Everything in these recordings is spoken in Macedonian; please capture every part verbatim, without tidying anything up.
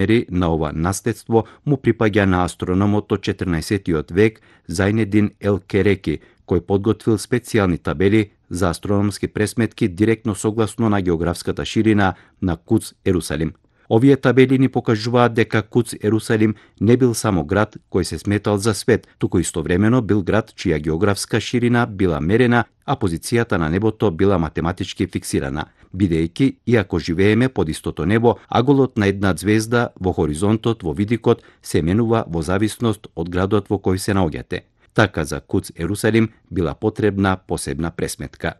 мери на ова наследство му припаѓа на астрономот од четрнаесеттиот век Зајнедин ел Кереки, кој подготвил специјални табели за астрономски пресметки директно согласно на географската ширина на Куц Ерусалим. Овие табели ни покажуваат дека Куц Ерусалим не бил само град кој се сметал за свет, туку истовремено бил град чија географска ширина била мерена, а позицијата на небото била математички фиксирана, бидејќи, иако живееме под истото небо, аголот на една звезда во хоризонтот во видикот се менува во зависност од градот во кој се наоѓате. Така за Куц Ерусалим била потребна посебна пресметка.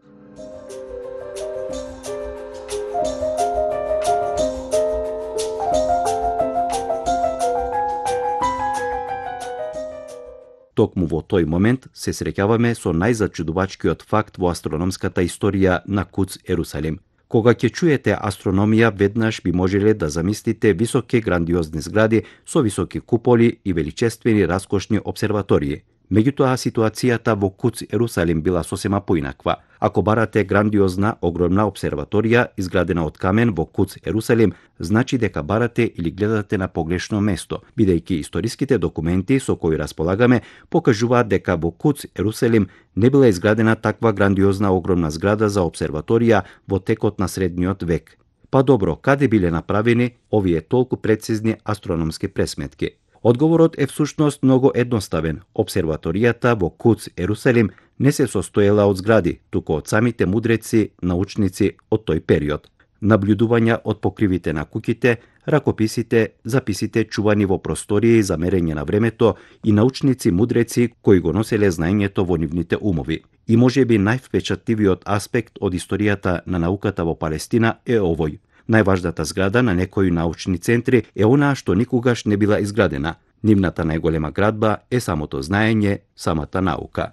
Токму во тој момент се среќаваме со најзачудувачкиот факт во астрономската историја на Куц Ерусалим. Кога ќе чуете астрономија, веднаш би можеле да замислите високи грандиозни згради со високи куполи и величествени раскошни обсерватории. Меѓутоа, ситуацијата во Куц Ерусалим била сосема поинаква. Ако барате грандиозна, огромна обсерваторија изградена од камен во Куц Ерусалим, значи дека барате или гледате на погрешно место, бидејќи историските документи со кои располагаме покажуваат дека во Куц Ерусалим не била изградена таква грандиозна огромна зграда за обсерваторија во текот на средниот век. Па добро, каде биле направени овие толку прецизни астрономски пресметки? Одговорот е всушност многу едноставен. Обсерваторијата во Куц Ерусалим не се состоела од згради, туку од самите мудреци, научници од тој период. Наблюдувања од покривите на куќите, ракописите, записите чувани во простории за мерење на времето и научници мудреци кои го носеле знаењето во нивните умови. И можеби највпечатливиот аспект од историјата на науката во Палестина е овој. Најважната зграда на некои научни центри е онаа што никогаш не била изградена. Нивната најголема градба е самото знаење, самата наука.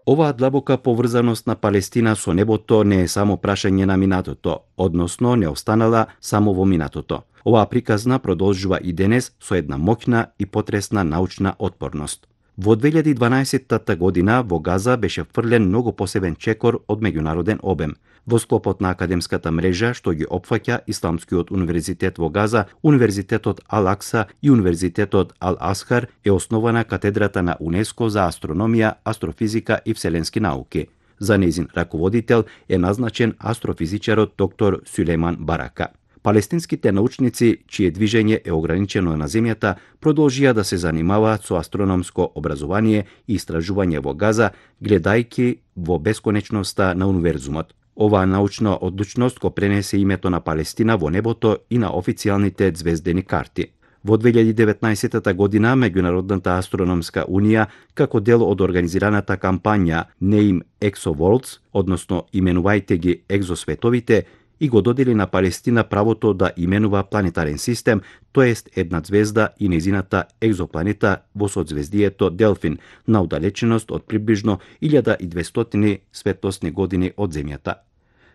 Оваа длабока поврзаност на Палестина со небото не е само прашање на минатото, односно не останала само во минатото. Оваа приказна продолжува и денес со една моќна и потресна научна отпорност. Во две илјади и дванаесетта година во Газа беше фрлен многу посебен чекор од меѓународен обем. Во склопот на академската мрежа што ги опфаќа Исламскиот универзитет во Газа, Универзитетот Ал-Акса и Универзитетот Ал-Асхар е основана катедрата на УНЕСКО за астрономија, астрофизика и вселенски науки. За нејзин раководител е назначен астрофизичарот доктор Сулејман Барака. Палестинските научници, чие движење е ограничено на земјата, продолжија да се занимаваат со астрономско образование и истражување во Газа, гледајќи во бесконечноста на универзумот. Оваа научна одлучност го пренесе името на Палестина во небото и на официјалните звездени карти. Во две илјади и деветнаесетта година Меѓународната астрономска унија, како дел од организираната кампања Name Exoworlds, односно именувајте ги екзосветовите, и го додели на Палестина правото да именува планетарен систем, тоест една звезда и незината екзопланета во созвездието Делфин, на удалеченост од приближно илјада и двестотини светлосни години од Земјата.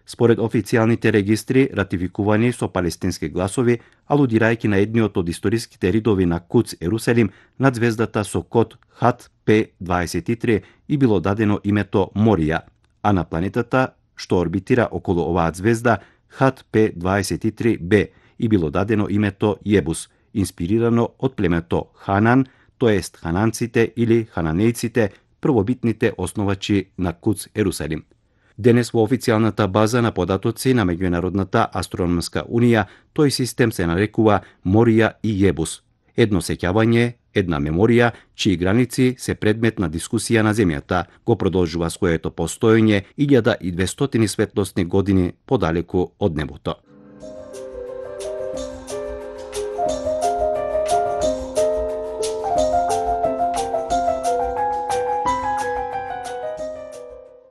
Според официјалните регистри, ратификувани со палестински гласови, алудирајќи на едниот од историските ридови на Куц Ерусалим, над звездата со код Х П дваесет и три и било дадено името Морија, а на планетата што орбитира околу оваа звезда Х П дваесет и три Б и било дадено името Јебус, инспирирано од племето Ханан, тоест хананците или хананејците, првобитните основачи на Куц Ерусалим. Денес во официјалната база на податоци на Меѓународната астрономска унија тој систем се нарекува Морија и Јебус. Едно сеќавање, една меморија, чии граници се предмет на дискусија на Земјата, го продолжува своето постоење илјада и двестотини светлосни години подалеку од небото.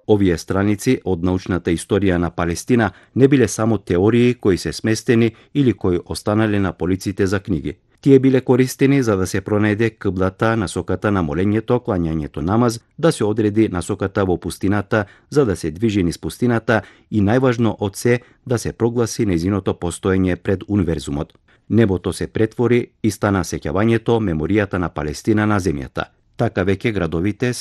Овие страници од научната историја на Палестина не биле само теории кои се сместени или кои останале на полиците за книги. Тие биле користени за да се пронајде киблата, насоката на молењето, клањањето намаз, да се одреди насоката во пустината, за да се движи низ пустината и најважно од се да се прогласи нејзиното постоење пред универзумот. Небото се претвори и стана сеќавањето, меморијата на Палестина на земјата. Така веќе градовите